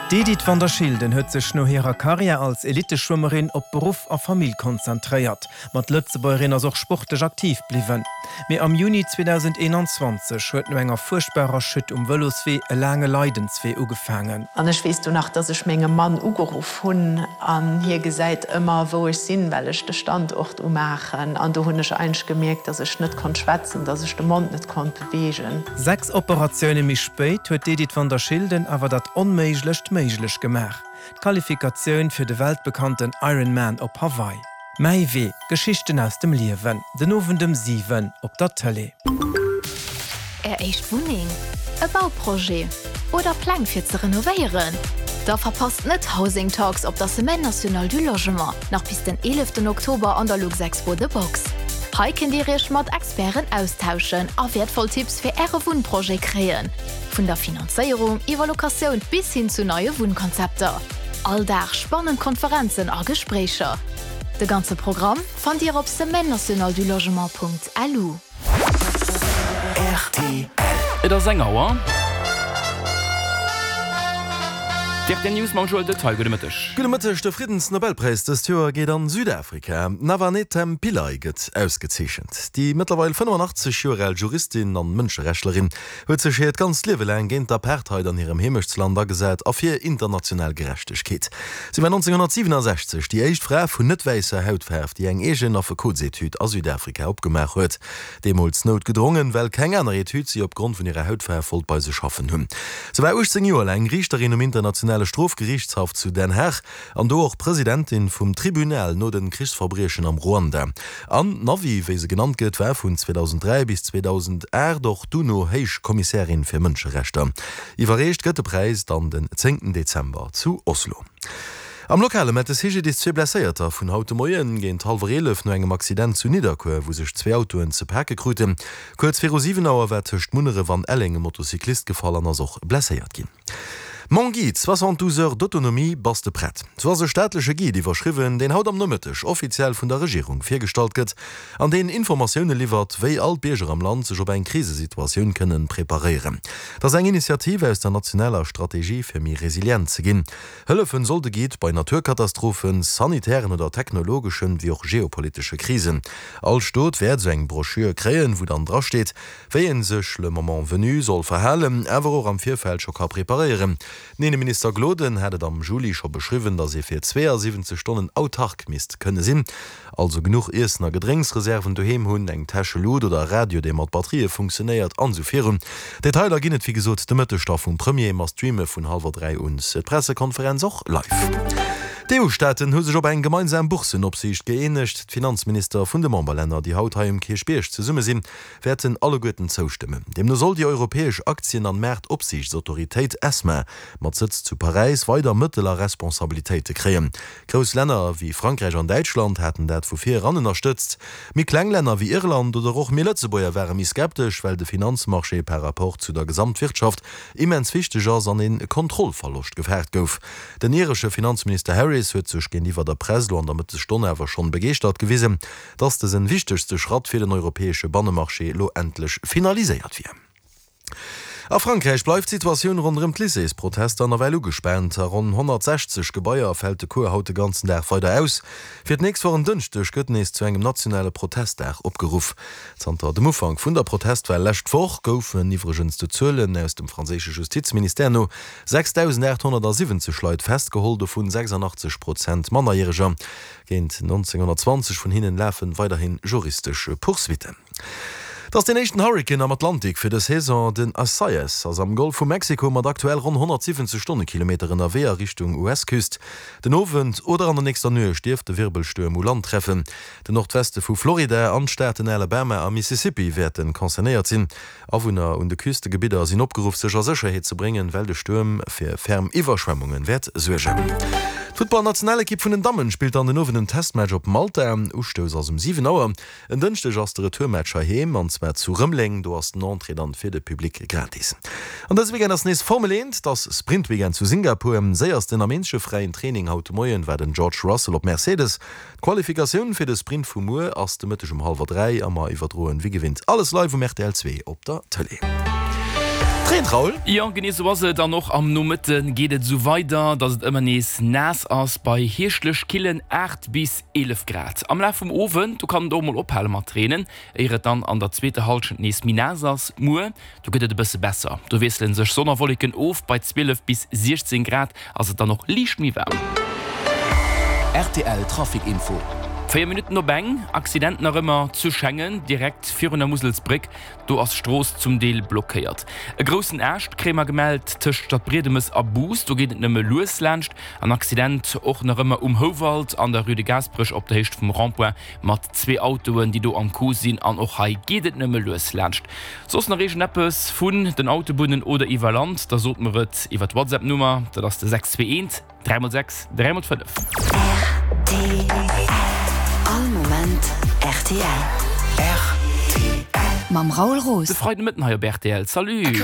D'Edith van der Schilden huet sech no hirer Karriär als Elitteschwëmmerin op Beruff a Famill konzentréiert. Ma d'Lëtzebuergerin ass och sportlech aktiv bliwwen. Mee am Juni 2021 huet no enger fuerchtbarer Chute um Vëloswee e laange Leidenswee ugefaangen. An ech weess du nach, dass ech mengem Mann ugeruff hunn an hie gesäit ëmmer wou ech sinn, well ech de Standort umaachen. An do hunn ech eigentlech gemierkt, dass ech net konnt schwätzen, dass ech de Mond net konnt beweegen. 6 Operatioune méi spéit huet d'Edith van der Schilden awer dat Onméiglecht méiglech gemaach, d'Qualifikatioun fir de weltbekannten Ironman op Hawaii. Mäi Wee, Geschichten aus dem Liewen, den Owend ëm 7 op der Tëlee. Är éischt Wunneng, e Bauprojet oder Pläng fir ze renovéieren? Da verpasst net Housing Talks op der Semaine Nationale du Logement, nach bis den 11 Oktober an der Luxexpo The Box. Hei kënnt Dir Iech mat Experten austauschen a wäertvoll Tipps fir Äre Wunnprojet kréien, vun der Finanzéierung iwwer Locatioun bis hin zu neie Wunnkonzepter. All Dag spannend Konferenzen a Gespréicher. De ganze Programm fannt Dir op semaine-nationale-du-logement.lu. Rtl. Et ass eng Auer. D'RTL News mam Joël Detaille. Gudde Mëtteg. Gudde Mëtteg. De Friddensnobelpräis dëst Joer geet an Südafrika. D'Navanethem Pillay gëtt ausgezeechent. Déi mëttlerweil 85 Joer al Juristin an Mënscherechtlerin huet sech hiert ganzt Liewe laang géint d'Apartheid an hirem Heemechtsland agesat a fir international Gerechtegkeet. Si war 1967 déi éischt Fra vun net wäisser Hautfaarf, déi eng eegen Affekotsetüd a Südafrika opgemaach huet. Deemools noutgedrongen, well keng aner Etüd si opgrond vun hirer Hautfaarf wollt bei sech schaffen hunn. Se war 18 Joer laang Riichterin um Internationale Strofgeriichtshaff zu Den Haag an do och Presidentin vum Tribunal no den Krichsverbriechen am Ruanda. An d'Navi, wéi se genannt gëtt, war vun 2003 bis 2008 och d'UNO-Héichkommissärin fir Mënscherechter. Iwwerreecht gëtt de Präis dann den zéngten Dezember zu Oslo. Am Lokale mellt de CGDIS zwee Blesséierter vun haut de Moien géint hallwer 11 no engem Accident zu Nidderkuer, wou sech zwee Autoen ze pake kruten. Kuerz viru 7 Auer war tëscht Munneref an Elleng e Motocyclist gefall an ass och blesséiert ginn. Mon Guide, 72 heures d'autonomie, bass de prett? Sou ass e staatleche Guide iwwerschriwwen, deen haut am Nomëtteg offiziell vun der Regierung virgestallt gëtt an deen Informatioune liwwert, wéi all d'Bierger am Land sech op eng Krisesituatioun kënnen preparéieren. Dat ass eng Initiativ aus der nationaler Strategie fir méi resilient ze ginn. Hëllefen soll de Guide bei Naturkatastrophen, sanitären oder technologeschen, wéi och geopolitesche Krisen. All Stot wäert esou eng Broschür kréien, wou dann drasteet, wéi een sech le moment venu soll verhalen, awer och am Virfeld scho ka preparéieren. Den Inneminister Gloden hat et am Juli scho beschriwwen, datt ee fir 72 Stonnen autark misst kënne sinn. Also genuch Iessen a Gedrénksreserven doheem hunn, eng Täschelut oder e Radio, dee mat Batterië funktionéiert, an esou virun. Detailer ginn et wéi gesot de Mëtteg da vum Premier. Mer streame vun hallwer 3 un d'Pressekonferenz och live. D'EU-Staaten hu sech op eng gemeinsam Boursenopsiicht gëeenegt. D'Finanzminister vun de Memberlänner, déi haut hei um Kierchbierg zesumme sinn, wäerten alleguerten zoustëmmen. Deemno soll déi europäesch Aktien an Maartopsiichtsautoritéit, ESMA, mat Sëtz zu Paräis, weider Mëttel a Responsabilitéite kréien. Grouss Länner wéi Frankräich an Däitschland haten dat vu vir eran ënnerstëtzt. Méi kleng Länner wéi Irland oder och mir Lëtzebuerger ware méi skeptesch, well de Finanzmarché par rapport zu der Gesamtwirtschaft immens wichteg ass an ee Kontrollverloscht gefaart gouf. Den iresche Finanzminister Harris huet sech géintiwwer der Press lo an der Mëttesstonn awer schonn begeeschtert gewisen, dass dësen wichtegste Schratt fir den europäesche Bannemarché lo endlech finaliséiert wier. A Frankräich bleift d'Situatioun ronderëm d'Lycéesprotester nawell ugespaant. A ronn 160 Gebaier fält de Cours haut de ganzen Dag weider aus. Fir d'nächst Woch en Dënschdeg gëtt nees zu engem nationale Protestdag opgeruff. Zanter dem Ufank vun der Protestwell lescht Woch goufen iwwregens de Zuelen aus dem franséische Justizministère no 6.870 Leit festgeholl, dovun 86 Prozent Mannerjäreger. Géint 1920 vun hinnen lafe weiderhi juristesch Poursuitten. Et ass deen éischten Hurrikan am Atlantik fir dës Saison. Den Isaias ass am Golf vu Mexiko mat aktuell ronn 170 Stonnekilometer ënnerwee a Richtung US-Küst. Den Owend oder an der nächster Nuecht dierft de Wirbelstuerm u Land treffen. Den Nordweste vu Florida an d'Staaten Alabama a Mississippi wäerte concernéiert sinn. Awunner un de Küstegebidder sinn opgeruff, sech a Sécherheet ze bréngen, well de Stuerm fir ferm Iwwerschwemmunge wäert suergen. D'Futtballnationalekipp vun den Dammen spillt dann den Owend en Testmatch op Malta. Ustouss ass um 7 Auer. En Dënschdeg ass de Retourmatch heiheem, an zwar zu Rëmeleng. Do ass den Entrée dann fir de Public gratis. An dëse Weekend ass nees Formel 1, et ass Sprintweekend zu Singapur. Séiersten am eenzege fräien Training haut de Moien war den George Russell op Mercedes. D'Qualifikatioun fir de Sprint vu muer ass de Mëtteg um hallwer 3 a mer iwwerdroen wéi gewinnt alles live um rtl 2 op der Tëlee. Et reent, Raoul. Jo, genee sou ass et. An och am Nomëtte geet et esou weider, dass et ëmmer nees naass ass, bei hierschtlech killen 8 bis 11 Grad. Am Laf vum Owend, do kann et och mol ophale mat reenen, éier et dann an der zweeter Hallschent nees méi naass ass. Muer, do gëtt et e bësse besser, do wiessele sech Sonn a Wolleken of, bei 12 bis 16 Grad ass et dann och liicht méi waarm. Rtl Trafic Info. 4 Minutten op eng, Accident nach ëmmer zu Schengen, direkt virun der Muselsbréck. Do ass d'Strooss zum Deel blockéiert. E groussen Aascht kréie mer gemellt tëscht Stadbriedemes a Bous. Do geet et nëmme lues laanscht. An Accident och nach ëmmer um Houwald an der Rue de Gaasperech op der Héicht vum Rond-point mat zwee Autoen, déi do am Coup sinn. An och hei geet et nëmme lues laanscht. Soss nach iergendeppes vun den Autobunnen oder iwwer Land, da sot mer et iwwer d'Whatsapp-Nummer. Dat ass de 621. 3 mol 6, 3 mol 5. Rtl, All Moment rtl. Mam Raoul Roos. De Freidemëtten hei op rtl. Salut!